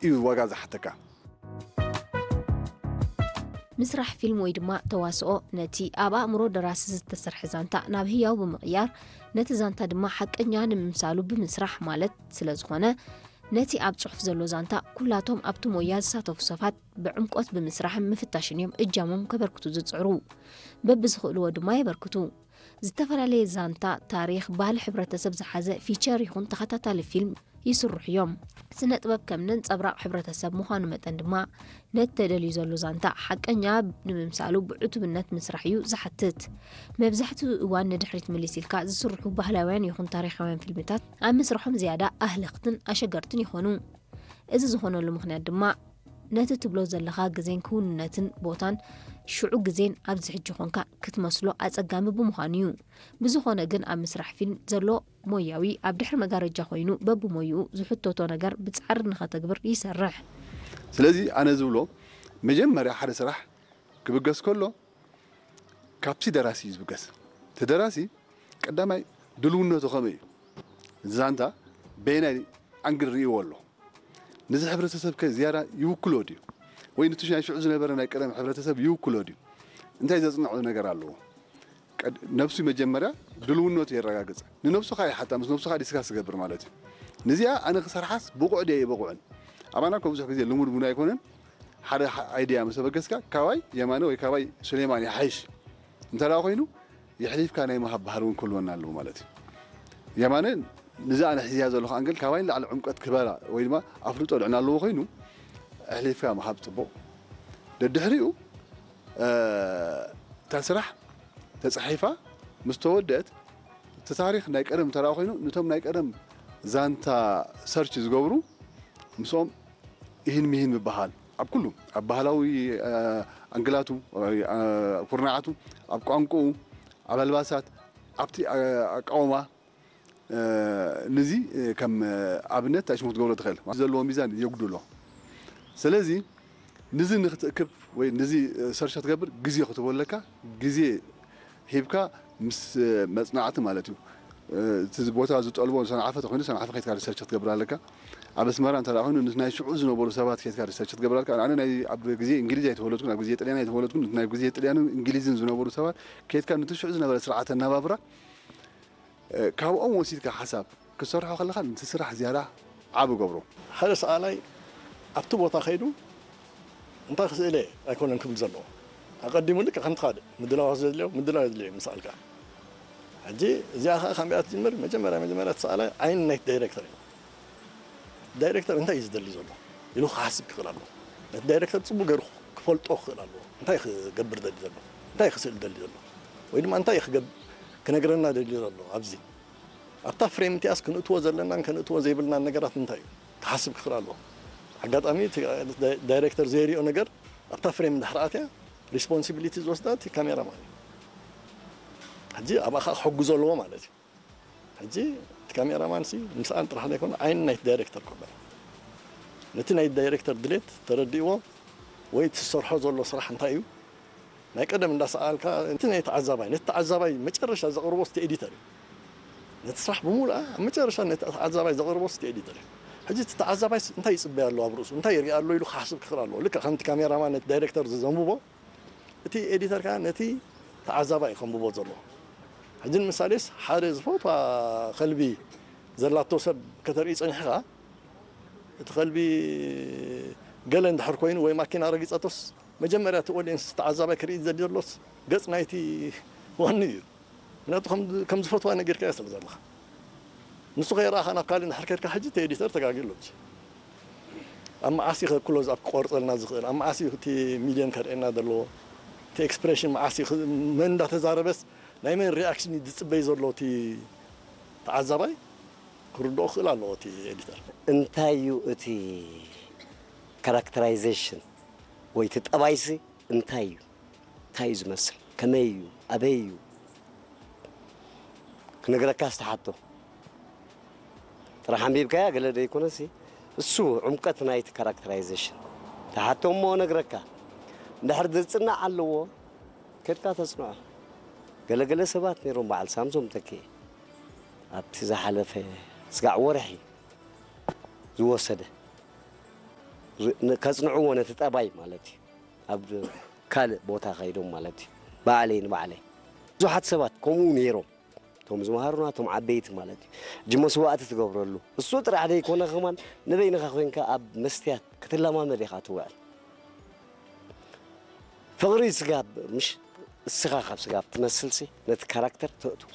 እዩ ዋጋ ዝሓተካ። ምስራሕ ፊልም ወይ ድማ ተዋስኦ ነቲ ኣብ ኣእምሮ ደራሲ ዝተሰርሐ ዛንታ ናብ ህያው ብምቕያር፣ ነቲ ዛንታ ድማ ሓቀኛ ንምምሳሉ ብምስራሕ ማለት ስለ ዝኾነ፣ ነቲ ኣብ ጽሑፍ ዘሎ ዛንታ ኩላቶም ኣብቲ ሞያ ዝሳተፉ ሰባት ብዕምቆት ብምስራሕን ምፍታሽን እዮም እጃሞም ከበርክቱ ዝጽዕሩ። በብዝኽእልዎ ድማ የበርክቱ። ዝተፈላለየ ዛንታ፣ ታሪኽ፣ ባህሊ ሕብረተሰብ ዝሓዘ ፊቸር ይኹን ተኸታታሊ ፊልም ይስርሑ እዮም። ስነ ጥበብ ከም ነንጸብራቕ ሕብረተሰብ ምዃኑ መጠን ድማ ነቲ ተደልዩ ዘሎ ዛንታ ሓቀኛ ንምምሳሉ ብዕቱብነት ምስራሕ እዩ ዝሓትት። መብዛሕትኡ እዋን ንድሕሪት ምልስ ኢልካ ዝስርሑ ባህላውያን ይኹን ታሪኻውያን ፊልምታት ኣብ ምስርሖም ዝያዳ ኣህለኽትን ኣሸገርትን ይኾኑ። እዚ ዝኾነሉ ምኽንያት ድማ ነቲ ትብሎ ዘለኻ ግዜን ክውንነትን ቦታን ሽዑ ግዜን ኣብዚ ሕጂ ኾንካ ክትመስሎ ኣጸጋሚ ብምዃኑ እዩ። ብዝኾነ ግን ኣብ ምስራሕ ፊልም ዘሎ ሞያዊ ኣብ ድሕሪ መጋረጃ ኮይኑ በብሞይኡ ዝሕተቶ ነገር ብጻዕሪ ንኸተግብር ይሰርሕ። ስለዚ ኣነ ዝብሎ መጀመርያ ሓደ ስራሕ ክብገስ ከሎ ካብቲ ደራሲ እዩ ዝብገስ። እቲ ደራሲ ቀዳማይ ድልውነቱ ከመይ እዩ? ዛንታ በየናይ ኣንግል ርእይዎ ኣሎ? ነዚ ሕብረተሰብ ከ ዝያዳ ይውክሎ ድዩ? ወይ ነቲ ናይ ሽዑ ዝነበረ ናይ ቀደም ሕብረተሰብ ይውክሎ ድዩ? እንታይ ዘጽንዖ ነገር ኣለዎ? ቀድ- ነብሱ መጀመርያ ድልውነቱ የረጋግጽ። ንነብሱ ከኣ ይሓታ፣ ምስ ነብሱ ከኣ ዲስካስ ዝገብር ማለት እዩ። ነዚኣ ኣነ ክሰርሓስ ብቑዕ ድየ ኣይበቑዕን? ኣባና እኮ ብዙሕ ግዜ ልሙድ እውን ኣይኮነን። ሓደ ሓ- ኣይድያ ምስ ኣበገስካ ካባይ የማነ ወይ ካባይ ሱሌማን ይሓይሽ እንተ ደኣ ኮይኑ የሕሊፍካ ናይ ምሃብ ባህሪ እውን ክህልወና ኣለዎ ማለት እዩ። የማነ ነዚ ኣነ ሒዝያ ዘለኹ ኣንግል ካባይ ንላዕሊ ዕምቀት ክበላ ወይ ድማ ኣፍልጦ ልዕና ኣለዎ ኮይኑ ኣሕሊፍካ ምሃብ ጽቡቕ። ደድሕሪኡ እታ ስራሕ ተጻሒፋ ምስ ተወደአት እቲ ታሪኽ ናይ ቀደም እንተ ኮይኑ ነቶም ናይ ቀደም ዛንታ ሰርች ዝገብሩ ምስኦም ይህን ሚህን ምበሃል ኣብ ኩሉ ኣብ ባህላዊ ኣንግላቱ ኩርናዓቱ ኣብ ቋንቋኡ ኣብ ኣልባሳት ኣብቲ ኣቃውማ ንዚ ከም ኣብነት ታሽሙ ክትገብሮ ትኽእል ዘለዎ ሚዛን የጉድሎ። ስለዚ ንዚ ንክትእክብ ወይ ንዚ ሰርች ክትገብር ግዜ ክትቦለካ ግዜ ሂብካ ምስ መጽናዕቲ ማለት እዩ። እቲ ቦታ ዝጠልቦ ሰንዓፈ ተኮይኑ ሰንዓፈ ከይትካ ሪሰርች ክትገብር ኣለካ። ኣብ ኣስመራ እንተ ኮይኑ ናይ ሽዑ ዝነበሩ ሰባት ከይትካ ሪሰርች ክትገብር ኣለካ። ኣነ ናይ ኣብ ግዜ እንግሊዝ ኣይተወለድኩን ኣብ ግዜ ጥልያን ኣይተወለድኩን ናይ ግዜ ጥልያንን እንግሊዝን ዝነበሩ ሰባት ከይትካ ነቲ ሽዑ ዝነበረ ስርዓተ ኣናባብራ ካብኦም ወሲድካ ሓሳብ ክትሰርሖ ከለኻ ነቲ ስራሕ ዝያዳ ዓቢ ገብሮ። ሓደ ሰኣላይ ኣብቲ ቦታ ከይዱ እንታይ ክስእለ ኣይኮነን ክብል ዘለዎ ኣቀዲሙ ልክ ከምቲ ካልእ ምድላዋት ዘድልዮ ምድላው የድልዮ ምስ ኣልካ ሕጂ እዚኣ ከዓ ካንቢኣ ትጅምር መጀመርያ መጀመርያ እቲ ሰኣላይ ዓይኒ ናይቲ ዳይሬክተር እዩ። ዳይሬክተር እንታይ እዩ ዝደሊ ዘሎ ኢሉ ክሓስብ ክኽእል ኣለዎ። ነቲ ዳይሬክተር ፅቡቅ ገይሩ ክፈልጦ ክኽእል ኣለዎ። እንታይ ክገብር ደሊ ዘሎ እንታይ ክስእል ደሊ ዘሎ ወይ ድማ እንታይ ክነግረና ደሊ ዘሎ ኣብዚ ኣብታ ፍሬም እቲኣስ ክንእትዎ ዘለናን ከነእትዎ ዘይብልናን ነገራት እንታይ እዩ ክሓስብ ክኽእል ኣለዎ። ኣጋጣሚ ዳይሬክተር ዘይሪኦ ነገር ኣብታ ፍሬም እንድሕር ኣትያ ሪስፖንሲቢሊቲ ዝወስዳ እቲ ካሜራ ማን እዩ። ሕጂ ኣብኣ ከዓ ክሕጉዞ ኣለዎ ማለት እዩ። ሕጂ እቲ ካሜራማን ሲ ምስኣን ጥራሕ ዘይኮነ ዓይኒ ናይቲ ዳይሬክተር ክበሃል ነቲ ናይ ዳይሬክተር ድሌት ተረዲእዎ ወይ እቲ ዝሰርሖ ዘሎ ስራሕ እንታይ እዩ ናይ ቀደም እንዳሰኣልካ እቲ ናይ ተዓዛባይ ነቲ ተዓዛባይ መጨረሻ ዘቕርቦ እቲ ኤዲተር እዩ። ነቲ ስራሕ ብሙሉኣ ኣብ መጨረሻ ነቲ ተዓዛባይ ዘቕርቦ እቲ ኤዲተር እዩ። ሕጂ እቲ ተዓዛባይ እንታይ ይፅበይ ኣሎ ኣብ ርእሱ እንታይ ይርኢ ኣሎ ኢሉ ክሓስብ ክኽእል ኣለዎ። ልክዕ ከምቲ ካሜራማን ነቲ ዳይሬክተር ዘንብቦ እቲ ኤዲተር ከዓ ነቲ ተዓዛባይ እዩ ከንብቦ ዘለዎ። ሕጂ ንምሳሌስ ሓደ ዝፈትዋ ከልቢ ዘላቶ ሰብ ከተርኢ ፀኒሕኻ እቲ ከልቢ ገለ እንድሕር ኮይኑ ወይ ማኪና ረጊፀቶስ መጀመርያ እቲ ኦድየንስ ተዓዛባይ ክርኢ ዘድሊ ዘሎስ ገፅ ናይቲ ዋኒ እዩ። ምክንያቱ ከም ዝፈትዋ ነጊርካዮ ስለ ዘለኻ ንሱ ከይረኣኻ ናብ ካልእ እንድሕር ከድካ ሕጂ እቲ ኤዲተር ተጋግዩ ኣሎ። ኣብ መዓስ እዩ ክሎዝ ኣፕ ክቆርፀልና ዝኽእል ኣብ መዓስ እዩ እቲ ሚድየም ከርእየና ዘለዎ እቲ ኤክስፕሬሽን መዓስ እዩ መን እንዳተዛረበስ ናይ መን ሪኣክሽን እዩ ዝፅበይ ዘሎ እቲ ተዓዛባይ ክርድኦ ክኽእል ኣለዎ እቲ ኤዲተር። እንታይ እዩ እቲ ካራክተራይዜሽን ወይ እቲ ጠባይሲ እንታይ እዩ እንታይ እዩ ዝመስል ከመይ እዩ ኣበይ እዩ ክነግረካ ዝተሓቶ ጥራሕ ኣንቢብካያ ገለ ዘይኮነሲ እሱ ዕምቀት ናይቲ ካራክተራይዜሽን ተሓቶ እሞ ነግረካ እንድሕር ዝፅናዕ ኣለዎ ከድካ ተፅንዖ ገለገለ ሰባት ነይሮም በዓል ሳምሶም ተኪኤ ኣብቲ ዝሓለፈ ስጋዕ ወርሒ ዝወሰደ ር- ን- ከጽንዕዎ ነቲ ጠባይ ማለት እዩ። ኣብ ካልእ ቦታ ከይዶም ማለት እዩ። ባዕለይ ንባዕለይ ብዙሓት ሰባት ከምኡ ነይሮም። እቶም ዝመሃሩና፣ እቶም ዓበይቲ ማለት እዩ። እጂ መስዋእቲ ትገብረሉ። እሱ ጥራሕ ዘይኮነ ከማን ንበይንኻ ኮይንካ ኣብ መስትያት ክትለማመድ ኢኻ ትውዕል። ፍቕሪ ስጋብ ምሽ እስኻ ካብ ስጋብ ትመስልሲ ነቲ ካራክተር ተእትዎ።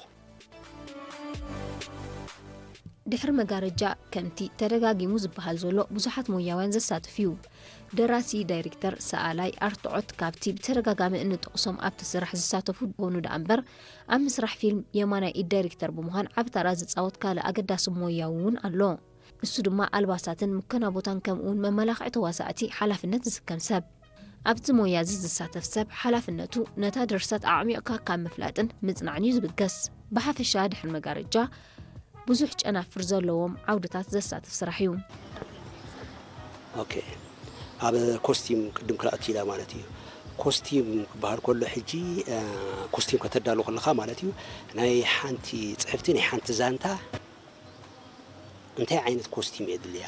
ድሕሪ መጋረጃ ከምቲ ተደጋጊሙ ዝበሃል ዘሎ ብዙሓት ሞያውያን ዘሳትፍ እዩ። ደራሲ፣ ዳይሬክተር፣ ሰኣላይ፣ ኣርትዖት ካብቲ ብተደጋጋሚ እንጠቕሶም ኣብቲ ስራሕ ዝሳተፉ ዝኾኑ ደኣ እምበር ኣብ ምስራሕ ፊልም የማናይ ኢድ ዳይሬክተር ብምዃን ዓቢ ታራ ዝጻወት ካልእ ኣገዳሲ ሞያዊ እውን ኣሎ። እሱ ድማ ኣልባሳትን ምከና ቦታን ከምኡ እውን መመላኽዒ ተዋሳእቲ ሓላፍነት ዝስከም ሰብ። ኣብቲ ሞያ እዚ ዝሳተፍ ሰብ ሓላፍነቱ ነታ ድርሰት ኣዕሚቕካ ካብ ምፍላጥን ምጽናዕን እዩ ዝብገስ። ብሓፈሻ ድሕሪ መጋረጃ ብዙሕ ጨናፍር ዘለዎም ዓውድታት ዘሳትፍ ስራሕ እዩ። ኦኬ ኣብ ኮስቲም ቅድም ክልኣቱ ኢላ ማለት እዩ። ኮስቲም ክበሃል ከሎ ሕጂ ኮስቲም ከተዳሉ ከለኻ ማለት እዩ ናይ ሓንቲ ፅሕፍቲ ናይ ሓንቲ ዛንታ እንታይ ዓይነት ኮስቲም የድልያ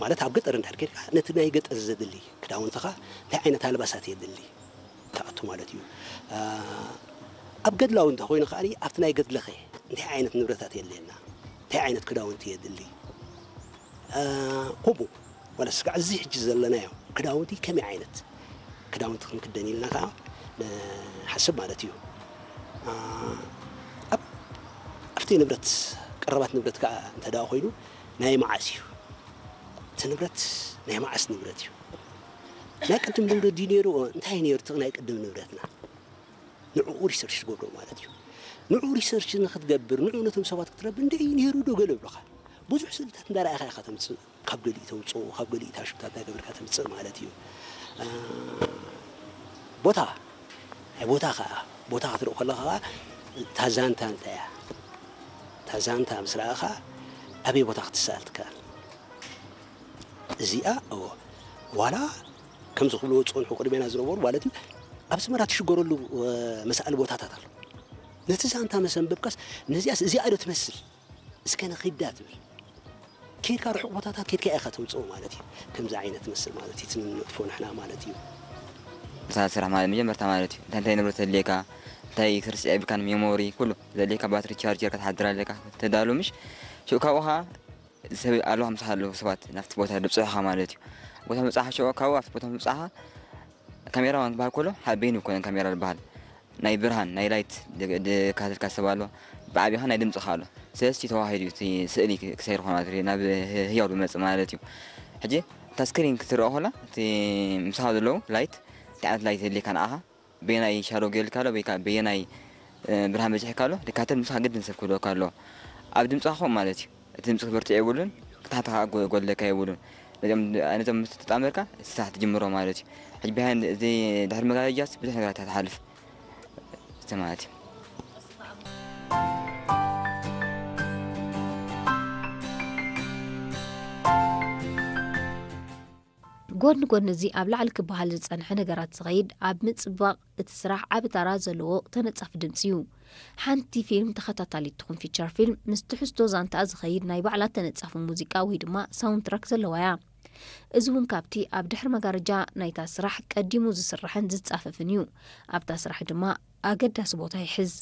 ማለት ኣብ ገጠር እንድሕር ኬድካ ነቲ ናይ ገጠር ዘድሊ ክዳውንትኻ እንታይ ዓይነት ኣልባሳት የድሊ ትኣቱ ማለት እዩ። ኣብ ገድላዊ እንተኮይኑ ከኣ ኣብቲ ናይ ገድለኸ እንታይ ዓይነት ንብረታት የድልየና እንታይ ዓይነት ክዳውንቲ የድሊ ከምኡ ዋላ ስጋዕ እዚ ሕጂ ዘለናዮ ክዳውንቲ ከመይ ዓይነት ክዳውንቲ ክንክደን ኢልና ከዓ ንሓስብ ማለት እዩ። ኣብቲ ንብረት ቀረባት ንብረት ከዓ እንተ ደኣ ኮይኑ ናይ መዓስ እዩ እቲ ንብረት ናይ መዓስ ንብረት እዩ ናይ ቅድም ንብረት ድዩ ነይሩ እንታይ ነይሩ እቲ ናይ ቅድም ንብረትና ንዕኡ ሪሰርች ትገብሮ ማለት እዩ። ንዕኡ ሪሰርች ንክትገብር ንዕኡ ነቶም ሰባት ክትረብ እንደ እዩ ነይሩ ዶ ገለ ብሎካ ብዙሕ ስእልታት እንዳረኣኻ ኢኻ ተምፅእ ካብ ገሊኡ ተውፅኦ ካብ ገሊኡ ታሽብታት እንዳገበርካ ተምፅእ ማለት እዩ። ቦታ ናይ ቦታ ከዓ ቦታ ክትርኢ ከለካ ከዓ ታዛንታ እንታይ እያ ታዛንታ ምስ ረኣኻ ኣበይ ቦታ ክትሰኣል ትከኣል እዚኣ እዎ ዋላ ከምዚ ክብልዎ ዝፀንሑ ቅድሜና ዝነበሩ ማለት እዩ ኣብ ኣስመራ ትሽገረሉ መሳእሊ ቦታታት ኣሎ ነቲ ዛንታ መሰንበብካስ ነዚኣስ እዚኣ ዶ ትመስል እስከ ንኺዳ ትብል ኬድካ ርሑቕ ቦታታት ኬድካ ኢኻ ተምፅኦ ማለት እዩ ከምዚ ዓይነት ትመስል ማለት እዩ ትንነጥፎ ንሕና ማለት እዩ ስራሕ ማለት መጀመርታ ማለት እዩ እንታይ እንታይ ንብረት ዘድልየካ እንታይ ክትርስዕ የብልካን ሜሞሪ ኩሉ ዘድልየካ ባትሪ ቻርጀር ክትሓድር ኣለካ ተዳሉ ምሽ ሽኡ ካብኡ ከዓ ሰብ ኣለዋ ምሳኻ ኣለዉ ሰባት ናብቲ ቦታ ድብፅሑኻ ማለት እዩ ቦታ ምብፃሓ ሽኡ ካብኡ ኣብቲ ቦታ ምብፃኻ ካሜራ ዝበሃል ከሎ ሓደ በይኑ ይኮነን ካሜራ ዝበሃል ናይ ብርሃን ናይ ላይት ድካትልካ ሰብ ኣሎ ብዓቢኻ ናይ ድምፅኻ ኣሎ ስለዚ ተዋሂዱ እዩ እቲ ስእሊ ክሰይር ኾነ ማለት እዩ ናብ ህያው ዝመፅእ ማለት እዩ ሕጂ እታ ስክሪን ክትረኦ ከላ እቲ ምሳኻ ዘለዉ ላይት እንታይ ዓይነት ላይት የድልየካ ንዓኻ በየናይ ሻዶ ገይርልካ ኣሎ ወይ ከዓ በየናይ ብርሃን በዚሕካ ኣሎ ድካተል ምሳኻ ግድን ሰብ ክህልወካ ኣለዎ ኣብ ድምፅኻ ከምኡ ማለት እዩ እቲ ድምፂ ክበርትዕ የብሉን ክታሕትኻ ጎድለካ የብሉን ነዞም ምስ ተጣመርካ እቲ ስራሕ ትጅምሮ ማለት እዩ ሕጂ ቢሃይንድ እዚ ድሕሪ መጋረጃስ ብዙሕ ነገራት ትሓልፍ እቲ ማለት እዩ ጎድኒ ጎድኒ እዚ ኣብ ላዕሊ ክበሃል ዝጸንሐ ነገራት ዝኸይድ ኣብ ምጽባቕ እቲ ስራሕ ዓቢ ታራ ዘለዎ ተነጻፊ ድምጺ እዩ። ሓንቲ ፊልም ተኸታታሊት ትኹን ፊቸር ፊልም ምስ ትሕዝቶ ዛንታኣ ዝኸይድ ናይ ባዕላ ተነጻፊ ሙዚቃ ወይ ድማ ሳውንድ ትራክ ዘለዋ እያ። እዚ እውን ካብቲ ኣብ ድሕሪ መጋረጃ ናይታ ስራሕ ቀዲሙ ዝስራሕን ዝጻፈፍን እዩ። ኣብታ ስራሕ ድማ ኣገዳሲ ቦታ ይሕዝ።